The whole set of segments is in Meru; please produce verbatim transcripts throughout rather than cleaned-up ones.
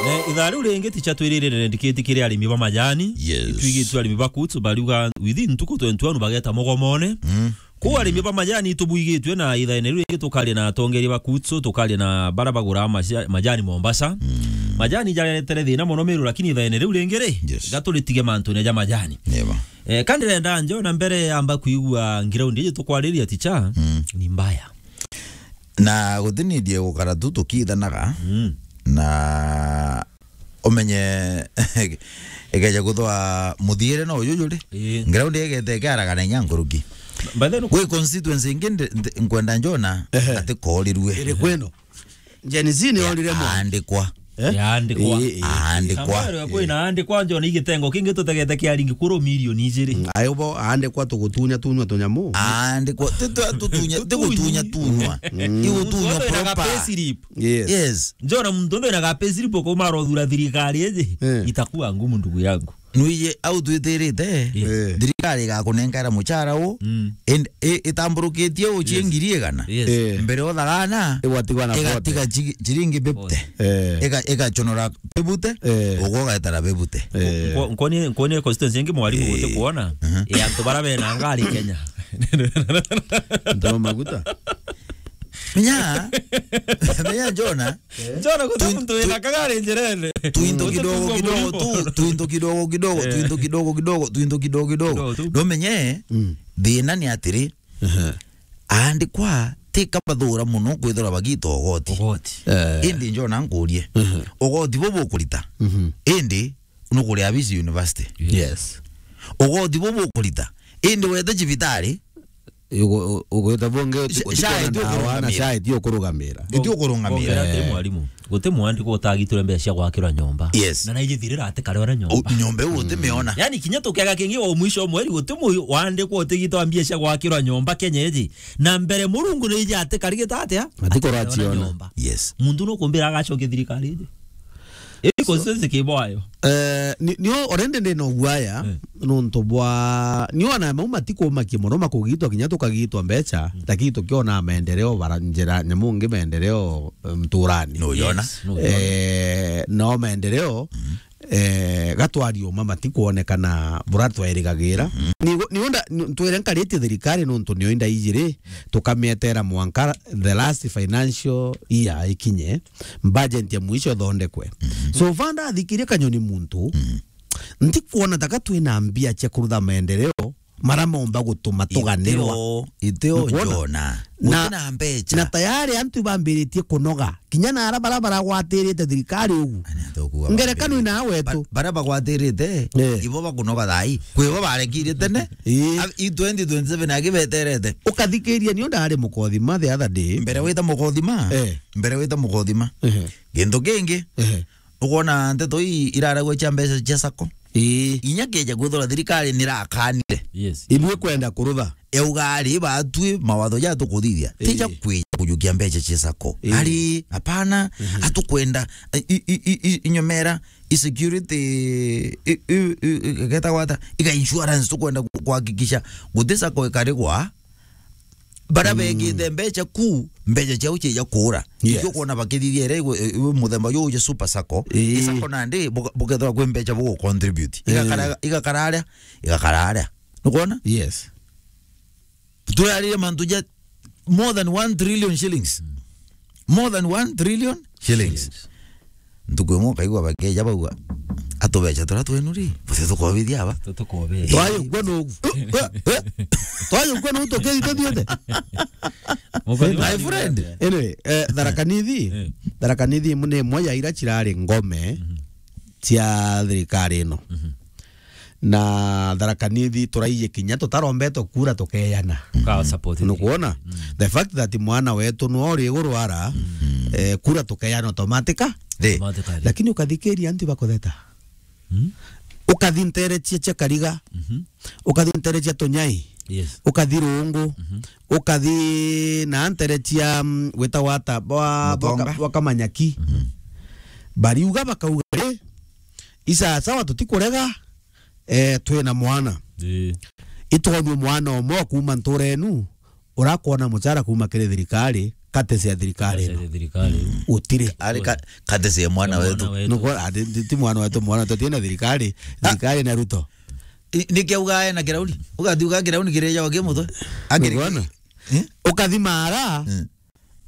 Eh, ithaa riu ringi ticha twirire ndikiti kiri arimi ba majani. Yes. Itwigitwe arimi ba Kuts bariuga within ntuku twenty-one bageta mogomone. Mm. Kuu arimi ba majani itubuigitwe na ithaene riu ringi tukaria na atongeria ba Kuts, tukaria na bara bagura maja-, majani Mombasa. Mm. Majani jaretere thina mono Meru, lakini ithaene riu ringi ri, yes, gaturitige mantune ja majani. Neba. Eh, kandi renda njo na mbere amba kuigua ground iji tukwariria ticha, mm, ni mbaya. Na gutinidie gukara tu tukithanaga, mm, na umenye ikeja kuthwa muthiire no uju juri. Ii. Ground igete ikiaragana inya nkuruki. By the way, gwi constituency ingi ndi-, ndi-, nkwenda njona, ehe, ati korirue. Iri kwino. Gen Z ni orire mwa. Aandikwa. Eh? Yaandikwa. Ii, ii. Aandikwa. Ambayo kwina aandikwa njona igitengo kingi tutegete kia ringi kuru milioni ijiri. Mm, ayo bo aandikwa tugutunya tunywa tunyamu. Aandikwa, ti tu-, tutunya, ti gutunya tunywa. Mm. Igutunywa proper. Muntu wina ga payslip. Yes. Yes. Njona muntu wina ga payslip ko maro thura thirikari iji. Eh. Itakuwa ngumu ndugu yangu. Nwije au twitirite, yes, eh, thirikari igakunengera muchara u, mm, and i-, itamburukitie u cia, yes, ngiri igana. Yes. Eh. Mbere uthagana, igwatigwa na igatiga forty. Chi-, chiringi fifty. Forty. Eh. Iga-, igachonora fifty, eh, ugwo ugaetera fifty. Eh. Nko-, nkoni, nkoni constituency ingi mwarimu, eh, guti kuona, mhm, ya antu bara bena ngari Kenya. Ndo maguta. Menya, menya Jona. Jona, guti muntu wina kagari njirene. Tuinto kidogo kidogo tu, tuinto kidogo kidogo, eh, tuinto kidogo kidogo, tuinto kidogo kidogo. Kidogo tu. Ndomenye, mm, thina ni atiri, aha, aandikwa ti kabathura muno kwithirwa bagita ugoti. Ugoti. Eh. Indi Jona nkurie. Mhm. Ugoti bubu ukurita. Mhm. Indi nukuria Abisi University. Yes. Ugoti bubu ukurita. Indi wete cibitari, Ugu-, ugwita bungi uti-, uti kuona ndawa na SHA iti ukurugamira. Iti ukurugamira. Ngongera atiri, eh, mwarimu, guti mwandiko utagitire mbeca cia gwakirwa nyomba. Yes. Na naijithirira ati kare ora nyomba. U-, nyomba iu utimiona. Yani kinya tukega kingi wa mwisho wa mweri guti mu-, wandikwa utigitwa mbia cia gwakirwa nyomba Kenya iji. Na mbere Murungu naiji ati karigita atia? Ati kuraciona. Nyomba. Yes. Muntu nukumbira agacokia thirikari iji. Ii constituency ki bwayo? Eh, ni, ni o-, already ndina uguaya, eh, nontu bwa, ni ona mau matikumakia mono makugitwa kinya tukagitwa mbeca, mm, lakini tukiona maendeleo bara njira nyamu ngi maendeleo, eh, nturani. No yona. Yes, no yona. Eh, no maendeleo, mm, eh, gatwari uma matikuonekana bura twairigagira. Mm-hmm. Ni, ni onda, ni, twire nkaritie thirikari nontu nio indaijiri, tukamietera mwanka the last financial year ikinye. Budget ya mwisho ithondekwe. Mhm. So far ndathikirie Kanyoni muntu, mhm, ntikuona taka twina mbia cia kurutha maendeleo mara momba gutuma tuganirwa. Iteo, iteo. Nikuona? Jona. Na, gutina mbeca. Na tayari antu bambiritie kunoga. Kinya na ara bara baragwatirite thirikari ugu. Ngerekano ina wetu. Ba-, bara bagwatirite, eh, ibo bakunoga thai. Kwibo barekire tene. Eh. A-, i twenty twenty-seven agi beterete. Ukathikiria nio ndari mukothima the other day. Mbere wita mukothima. Eh. Mbere wita mukothima. Ehe. Gintu kingi, ehe, ukwona nteto ii iraragwa cia mbeca cia sacco. Ii. Inya kieja kwithirwa thirikari nirakanire. Yes. Ibui kwenda kurutha. Yauga ari batwi mawatho ja tukuthithia. Ii. Tija kwija kujukia mbeca cia sacco. Ii. Ari, hapana, mhm, atukwenda, i, i, i, i, inyomera, i security, i, i, i, i, geta gwata, iga insurance tukwenda ku-, kuhakikisha guti sacco ikarigwa, bara, mm, begite mbeca ku, mbeca ciao ciija kuura. Yes. Nikio kwona bakithithia ira iwe, iwe muthemba juu ja super sacco. Ii. I sacco nandi buka-, bukethirwa kwi mbeca bugu contribute. Eh. Igakara, igakara aria, igakara aria. Nukwona? Yes. Turaririe mantu ja more than one trillion shillings. Mm. More than one trillion shillings. Shillings. Ntuku imwe ukaigua bakeja bauga, "Atubeca turia twenu ri, buti tukobithia aba." Tutukobithia. Twayukua nugu. Twayukua nugu tukiri tuthiete. My friend. Anyway, eh, Tharaka Nithi. Eh. Tharaka Nithi imwe ni imwe ya ira cirari ngome, mhm, cia thirikari ino. Mhm. Na Tharaka Nithi turaiji kinya tutarombetwe kura tukeyana. Tuka support. Nukwona? Mm. The fact that mwana wetu no uri iguru ara, mm, eh, kura tukeyana automatica. Ri. Automatically. Lakini ukathikiria antu bakutheta. Mm. Ukathi ntere cia, cia Kariga. Mhm. Ukathi ntere cia Tunyai. Yes. Ukathi Rungu. Mhm. Ukathi na ntere cia, mm, gwitagwa ata, bwa, bwa Mutonga. Ka-, bwa Kamanyaki. Mhm. Bariuga bakauga, "Ri, isasawa tutikurega." Eh, twina mwana. Ii. Itwonua mwana umwe wa kuuma ntura enu, urakwona mucara kuuma kiri thirikari, Courtesy ya thirikari ino. Courtesy ya thirikari. Mm. Gutiri. Ari ka-, courtesy ya mwana wetu. Mwana wetu. Nuko, ati, ti, ti mwana wetu, mwana wetu, tina thirikari. Ah. Thirikari na Ruto. I-, niki auga ena kirauni? Ugati uga kirauni kireja wake mutwe. Akiri. Nukwona? Eh? Ukathi Mara. Mm.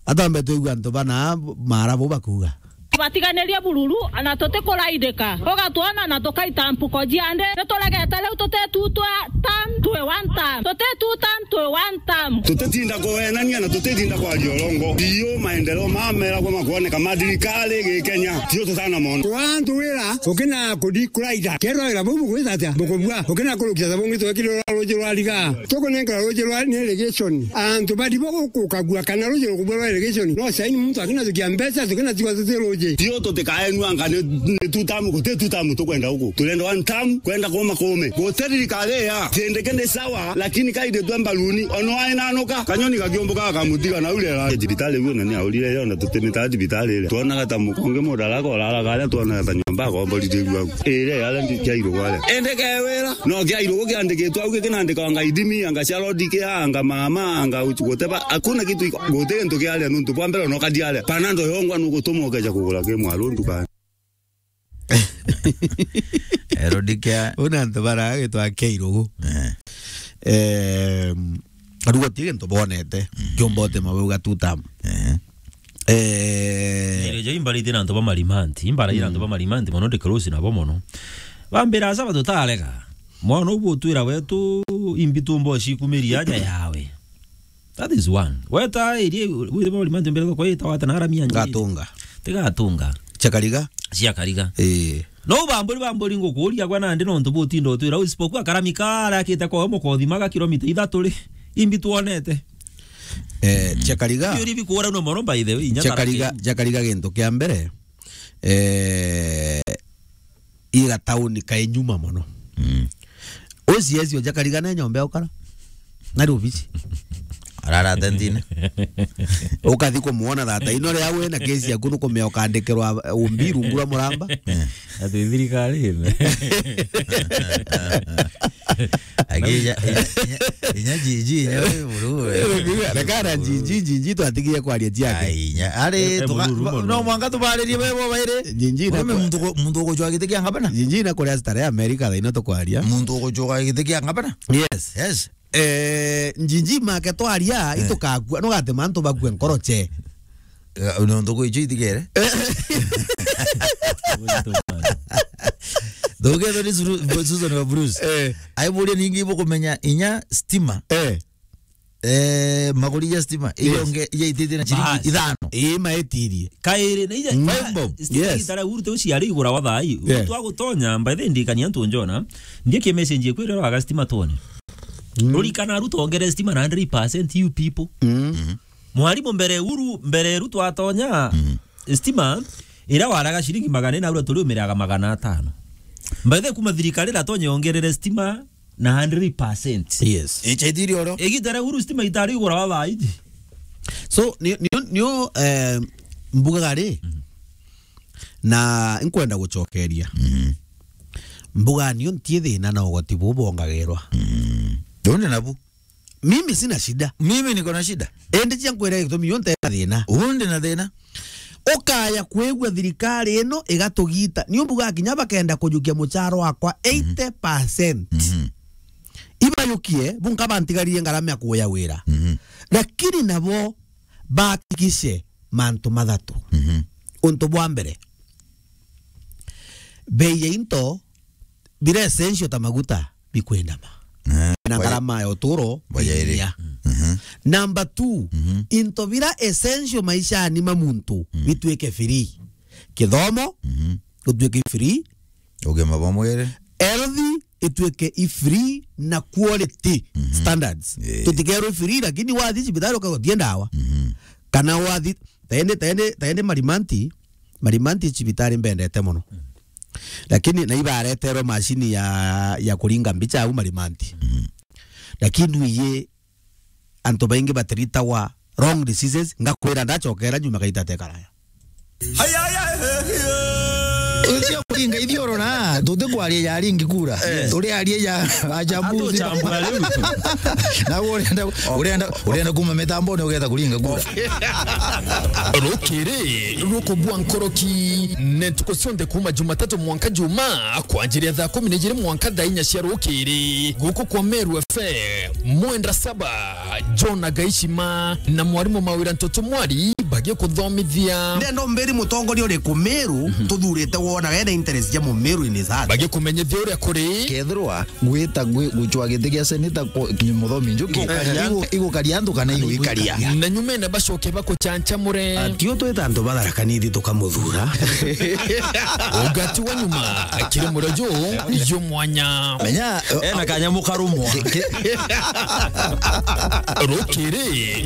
Atambe twigua antu bana Mara bo bakuga. Batiganirie bururu, na tutikuraidika. Ugatwona na tukaita mpuko ciandi. Nituregete riu tuti two term, twi one term. Tuti two term, twi one term. Tutitinda kuwenania na tutitinda kwaria urongo. Biu maendeleo mameragwa makwoneka ma thirikari gi Kenya. Tio tutana mono. Kwa antu wira, ukina kudi kuraida. Kerwa wira bau bugwita atia? Bukubua. Ukina kurukia ta bungi twekirira ruji rwa riga. Tukunenkera ruji rwa ni irrigation. Antu bari bo gukagua kana ruji rukubua rwa irrigation. No saini muntu akina tukia mbeca, tukina tigwa tuti ruji. Tio tutikaenua anga ni, ni two term, guti two term tukwenda guku. Turenda one term, kwenda kuma kume. Guti thirikari ya. Kindiki ni sawa, lakini kaindi twe mbaruni. Ono ainanuka, kanyoni kakiumbuka gakamutiga na uria. Thibitari guo na ni aurire yo na tutimita thibitari iria. Twonaga ta mukonge mudaraka uraraga aria twonaga ta nyomba akomborithirua. Iria yaria ndi kia irugu aria. Indi kewira, no kia irugu kiandikitwe au, gikinandikwa anga ithimi, anga cia road care, anga mama, anga uchu, guteba, hakuna kitu iko, guti gintu kiaria nuntu bwa mbere no kadiaria. Panado yongwa nugutuma ukeja kugura ki mwaru ndukani. Road care. Una antu baragitwa kia irugu. Eh. Em, arugo ti gintu bonete, mhm, kiumba utima bau gatuta. Eh. Eh. Ndereja imbarite na antu ba Marimanti, imbarite na antu ba Marimanti, mono ndikorosi nabo mono. Bambira, "Asa batutarega. Mwana ubu utwira wetu imbi tumbo cikumiria aja yawe." That is one. Weta irie, wire ba Marimanti mbere kwa ita wata na aramia nje. Gatunga. Tigatunga. Chakariga? Cia Kariga. Eh. No bamburi, bamburi ngukuria gwa nandi nontu butinda utwira, isipokuwa karami kara akite kwa mukothi maga kilomita ithatu ri, imbi twonete. Eh, mm. Chakariga. Iyo ri bikura no mono, by the way, inya Chakariga, Tharaka. Chakariga gintu kia mbere, eh, iga tauni kai nyuma mono. Mm. Ucieci o Chakariga ne nyomba ya ukara. Nari obici. Arara tentine. Ukathi kumwona thata. Ino ria we na kesi yaku nukumea ukandikirwa umbi rungu rwa muramba. Eh. Ati thirikari ine. Akija, inya, inya, inya jiji, inya we buru we. Rekana jiji, jiji twatigie kwaria ciake. Ai, inya. Ari, eh, tuka-, buru, buru, no buru. Mwanga tubaririe bebo baire. Jiji na muntu ku-, muntu ukucwa giti kia ngabana. Jiji na kuria stare America thaino tukwaria. Muntu ukucwa giti kia ngabana. Yes. Yes. Eh, njinji make twaria, eh, itukakua, nugatema antu bakue nkoroche. Eh, nontu kwi icio itigere. Ndugethwo ni Suru-, Susan wa Bruce. Eh. Aiburia ningi ibukumenya inya stima. Eh. Eh, maguri ja stima. Yes. Iyo nge, iya ititie na ciringi ithano. Ii, maetirie. Kairi, na ija, five bob. Yes. Stima itara urute uciari igura wa thai. Yeah. Twagutonya, by the way, ndikania antu njona. Ndikie message ikwirira waga stima twone. Mm. Urikana Ruto ongere stima na hundred percent, you people. Mm. Mhm. Mwarimu mbere uru, mbere Ruto atonya, mm, stima, ira waraga ciringi magana ina, ura turi umiraga magana atano. By the way, kuma thirikari iratonye ongerere stima na hundred percent. Yes. Icha ithiri oro. Igita ria uru stima itari igura wa thaiji. So, ni, ni, ni, eh, mbugaga ri, mhm, na nkwenda gucokeria. Mhm. Mbuga nio ntie thina na ugoti bubu bongagirwa. Mm. Ndone nabu. Mimi sina shida. Mimi niko na shida. Ende cia nkwira gitumi yo nte na thina. Undi na thina. Ukaya kwigua thirikari ino igatugita. Ni umbuga kinya bakenda kujukia mucharo wakwa, mhm, eighty percent. Mhm. Ibayukie, bunka bantigarire ngarama ya kuya wira. Mhm. Lakini nabo bahakikishe mantu mathatu. Mhm. Untu bwa mbere, bei ya into bira essential ta maguta bikwendama. Eh, na baja-, ngarama ya uturo bajaire inyia. Mhm. Number two, mhm, into bira essential maishani ma muntu, mhm, bitwike free. Kithomo, mhm, gutwike free. Ugima bwa mwiri. Health itwike i free na quality, mhm, standards. Eh. Tutikerwe free, lakini wathi cibitari ukagwa tie ndawa. Mhm. Kana wathi, taende, taende, taende Marimanti, Marimanti cibitari mbendete mono. Lakini na ibareterwe mashini ya, ya kuringa mbicha au Marimanti. Mhm. Lakini ndwiye antu baingi batiritagwa wrong diseases, ngakwira ndachokera nyuma gaita tekaraya. Ucio kuringa ithioro na, tutikwaria ya ringi kura. Turiaria ya achambuzi. Atuchambua riu. Na urenda, urenda, urenda kuma mitambone ugetha kuringa kura. Rukiri rukubua nkoroki, ne ntuku cionthe kuma Jumatatu mwanka Juma, kwanjiria thaa kumi na ijiri mwanka thaa inya cia rukiri. Guku kwa Meru F M, mwenda saba, John Agaishima na mwarimu Mawira Ntoto Mwari bagikuthomithia. Ndenda umbiri mutongoria uriku Meru tuthurite wona wena interest ja Mumeru in his heart. Bagikumenyithia uria kuri. Kethirwa gwita gwi-, gucwa giti gia seneta ku-, Muthomi Njuki, igukaria antu kana iguikaria. Na nyumene bacoke bakuchanchamure. Atio twita antu batharakanithi tukamuthura. Ugati wa nyuma, kiri murojo, yo mwanya. Menya, ena kanyamu karumwa. Rukiri